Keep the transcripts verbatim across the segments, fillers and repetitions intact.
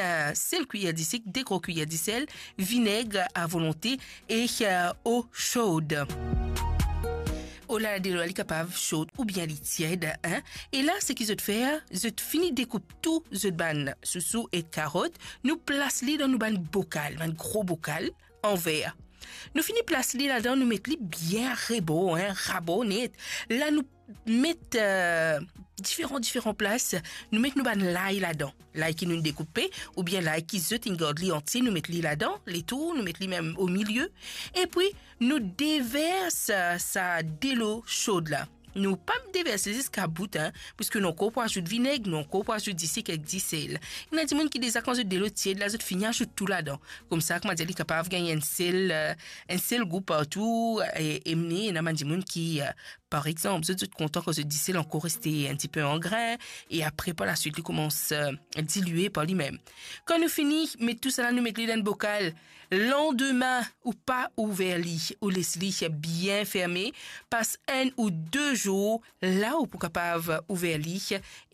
eh, sel kwiyer disik, de gro kwiyer disel, vineg a volonte e, eh, o sod. O la, delo la li kapav sod oubien li tied, hein. E la, seki zot fer, zot fini dekoup tou zot bann sousou ek karot, nou plas li dan nou bann bokal, bann gro bokal an ver. Nou fini plas li ladan, nou met li bien rebor, hein, rabor net. La nou met, eh, diferan, diferan plas, nou met nou bann lay ladan. Lay ki nou dekoupe, oubien lay ki zot inn gard li antie, nou met li ladan, letour, nou met li mem omilie. Epi, nou devers, eh, sa delo sod la. Nou pa devers li ziska bout, hein, parski nou ankor pou azout vineg, nou ankor pou azout disik ek disel. Ena dimoun ki deza, kan zot delo tied la, zot fini azout tou ladan. Koumsa, kouma dir, li kapav gagn enn sel, eh, enn sel gou partou, e, e mem ena bann dimoun ki, eh, par exanp, zot, zot kontan kan zot disel ankor reste enn tipe an grin, e apre, par laswit, li koumans, eh, dilie par limem. Kan nou fini met tousala, nou met li dan enn bokal. Landime, ou pa ouver li, ou les li bien ferme, pas enn ou de zour, la ou pou kapav ouver li,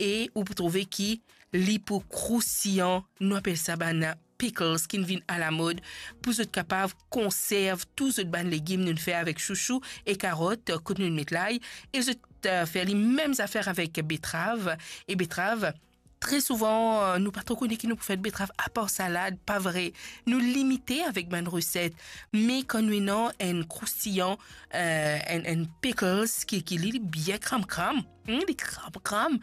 e ou pou trouve ki li pou kroustiyan. Nou apel sa bann pickles ki vinn alamod, pou zot kapav konserv tou zot bann legim nou fer avek sousou e karot, kot nou met lay, e zot, eh, fer li mem zafer avek betrav, e betrav, tre souvan, eh, nou pa tro kone ki nou pou fer betrav, apar salad, pa vre. Nou limite avek bann reset, me kan nou ena enn kroustiyan, eh, enn, enn pickles ki, ki li, li bien kram-kram, hmm, li kram-kram,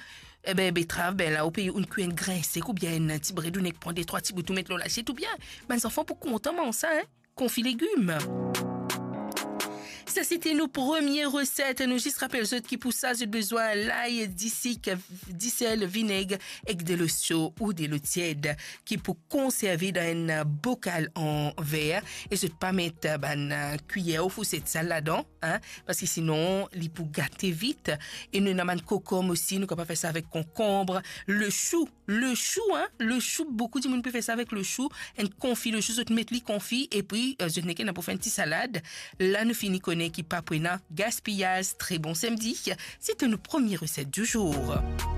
ebe, betrav, be la, ou pe, ou kwi enn grin sek oubien enn ti bred, ou nek pran de trwa ti bout, ou met lor lasiet, oubien bann zanfan pou kontan manz sa, hein. Konfi legim. Sa, sete nou premie reset. Nou zis rapel zot ki pou sa, zot bizin lay, disik, disel, vineg ek delo so ou delo tied ki pou konserve dan enn bokal an ver. E zot pa met bann kwiyer ou fourset sal ladan, hein, parski sinon, li pou gate vit. E nou ena bann konkonm osi, nou kapav fer sa avek konkonm, le sou, le sou, hein, le sou, boukou dimoun pe fer sa avek le sou, enn konfi le sou, zot met li konfi, epi, eh, zot nek ena pou fer enn ti salad. La, nou fini kone ki pa pou ena gaspiyaz. Tre bon samdi, sete nou premie reset di zour.